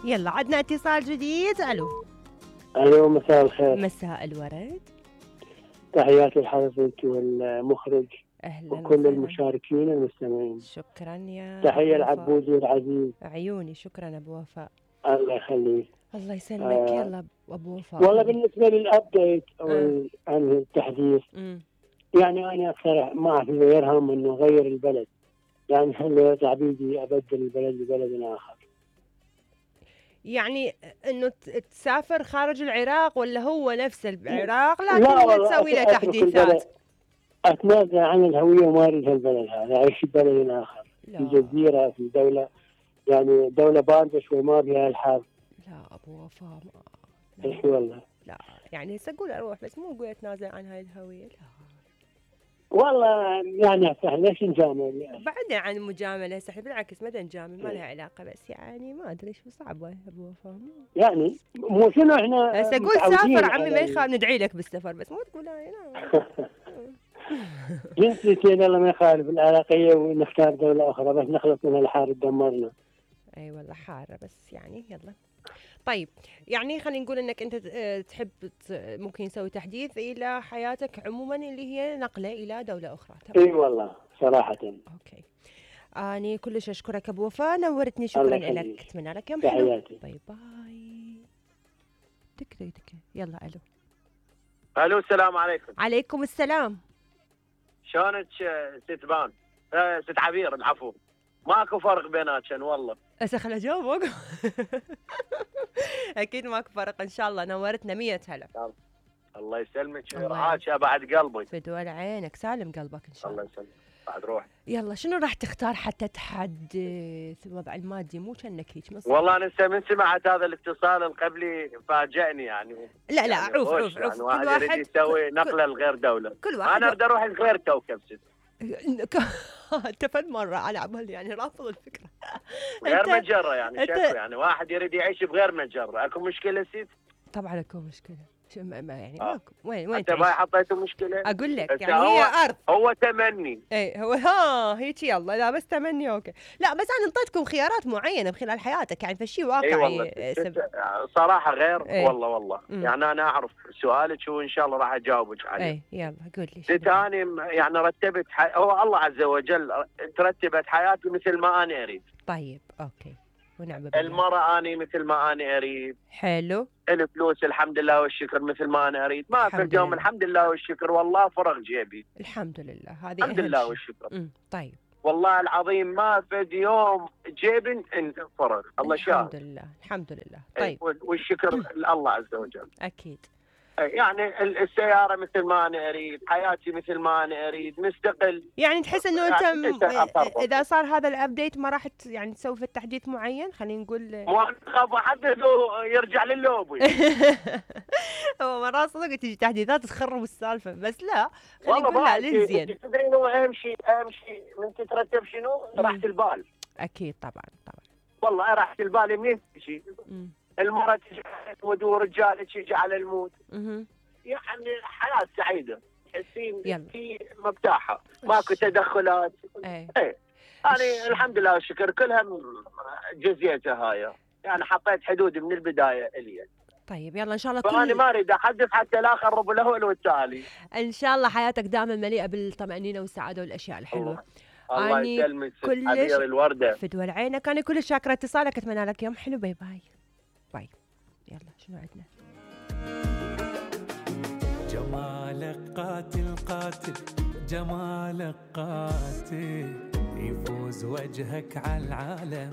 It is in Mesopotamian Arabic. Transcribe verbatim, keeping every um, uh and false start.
يلا عدنا اتصال جديد. الو الو مساء الخير. مساء الورد. تحياتي لحضرتك والمخرج اهلا وكل وسهلا. المشاركين المستمعين. شكرا يا تحية أبو وفاء. العبودي العزيز. عيوني. شكرا ابو وفاء. الله يخليك. الله يسلمك. آه يلا ابو وفاء. والله بالنسبة للابديت او آه. عن التحديث مم. يعني انا اكثر ما في غيرهم انه غير البلد، يعني خلي تعبيدي ابدل البلد لبلد اخر. يعني انه تسافر خارج العراق ولا هو نفس العراق لكن لا تسوي له تحديثات؟ اتنازل عن الهويه وما اريد هالبلد هذا، اعيش في بلد اخر. لا. في جزيره، في دوله يعني دوله بارده شوي ما بها الحرب. لا ابو وفاء. ايش والله. لا يعني هسه اقول اروح بس مو اقول اتنازل عن هاي الهويه. لا والله يعني ليش نجامل؟ بعدنا عن المجامله هسه، بالعكس ما نجامل، ما لها علاقه، بس يعني ما ادري شو صعبه ابو وفاء. يعني مو شنو احنا هسه قول سافر عمي ما يخاف، ندعي لك بالسفر بس مو تقول هاي. جنسيتين الله ما يخالف العراقيه ونختار دوله اخرى بس نخلص من الحرب دمرنا. اي أيوة والله حاره بس يعني يلا. طيب يعني خلينا نقول انك انت تحب ممكن نسوي تحديث الى حياتك عموما اللي هي نقله الى دوله اخرى. اي والله صراحه. اوكي. اني كلش اشكرك ابو وفاء، نورتني. شكرا لك. اتمنى لك يوم حلو. باي باي. دك دك دك. يلا الو. الو السلام عليكم. عليكم السلام. شلونك ست بان؟ آه ست عبير العفو. ماكو فرق بيناتشن والله. هسه خل اجاوبك. اكيد ماكو فرق ان شاء الله. نورتنا مية هلا. الله يسلمك ويرعاك يا بعد قلبي. فدوى عينك. سالم قلبك ان شاء الله. الله يسلمك بعد روح. يلا شنو راح تختار حتى تحدث الوضع المادي؟ مو كأنك هيك. والله انا من سمعت هذا الاتصال القبلي فاجأني يعني. لا لا يعني عوف عوف يعني عوف. واحد كل واحد يريد يسوي نقله لغير دوله. كل واحد انا اريد اروح لغير كوكب ست. انت فد مره على عمل يعني رافض الفكره. غير مجره يعني شكو يعني واحد يريد يعيش بغير مجره. اكو مشكله ست؟ طبعا اكو مشكله. ما يعني آه. ماكو. وين وين انت ما حطيتوا مشكله؟ اقول لك يعني هي ارض. هو تمني. اي هو ها هيك يلا. لا بس تمني اوكي. لا بس انا انطيتكم خيارات معينه خلال حياتك يعني فشي واقعي. اي والله سب... صراحه غير. ايه؟ والله والله مم. يعني انا اعرف سؤالك وان شاء الله راح اجاوبك عليه. اي يلا قول لي. ثاني يعني رتبت حي... هو الله عز وجل ترتبت حياتي مثل ما انا اريد. طيب اوكي ونعم بالله. المرأة أنا مثل ما أنا أريد. حلو. الفلوس الحمد لله والشكر مثل ما أنا أريد. ما في اليوم الحمد لله والشكر والله فرغ جيبي. الحمد لله. هذه الحمد لله والشكر. امم طيب. والله العظيم ما في يوم جيبي فرغ. الله شاهد. الحمد لله الحمد لله. طيب والشكر لله عز وجل. أكيد. يعني السيارة مثل ما أنا أريد، حياتي مثل ما أنا أريد، مستقل. يعني تحس إنه أنت م... إذا صار هذا الأبديت ما راح يعني تسوي في التحديث معين؟ خلينا نقول ما خاف أحدث يرجع لللوبي. هو مرات صدق تجي تحديثات تخرب السالفة بس لا خلينا نقول لا للزين. تدرين هو أهم شيء أهم شيء من تترتب شنو؟ راحة البال. أكيد طبعا طبعا. والله راحة البال منين تجي؟ المرأة تجي ودور رجال تجي على الموت. يعني حياة سعيدة تحسين في مرتاحة ماكو تدخلات. ايه ايه يعني الحمد لله والشكر كلها جزيتها هاي يعني حطيت حدود من البداية الي. طيب يلا ان شاء الله. فأنا ما اريد احدث حتى لا اخرب الاول والتالي. ان شاء الله حياتك دائما مليئة بالطمأنينة والسعادة والاشياء الحلوة. الله يسلمك عبير الوردة. فدوى عينك. انا كلش شاكرة اتصالك. اتمنى لك يوم حلو. باي باي. باي. يلا شنو عندنا؟ جمالك قاتل قاتل جمالك قاتل يفوز وجهك على العالم.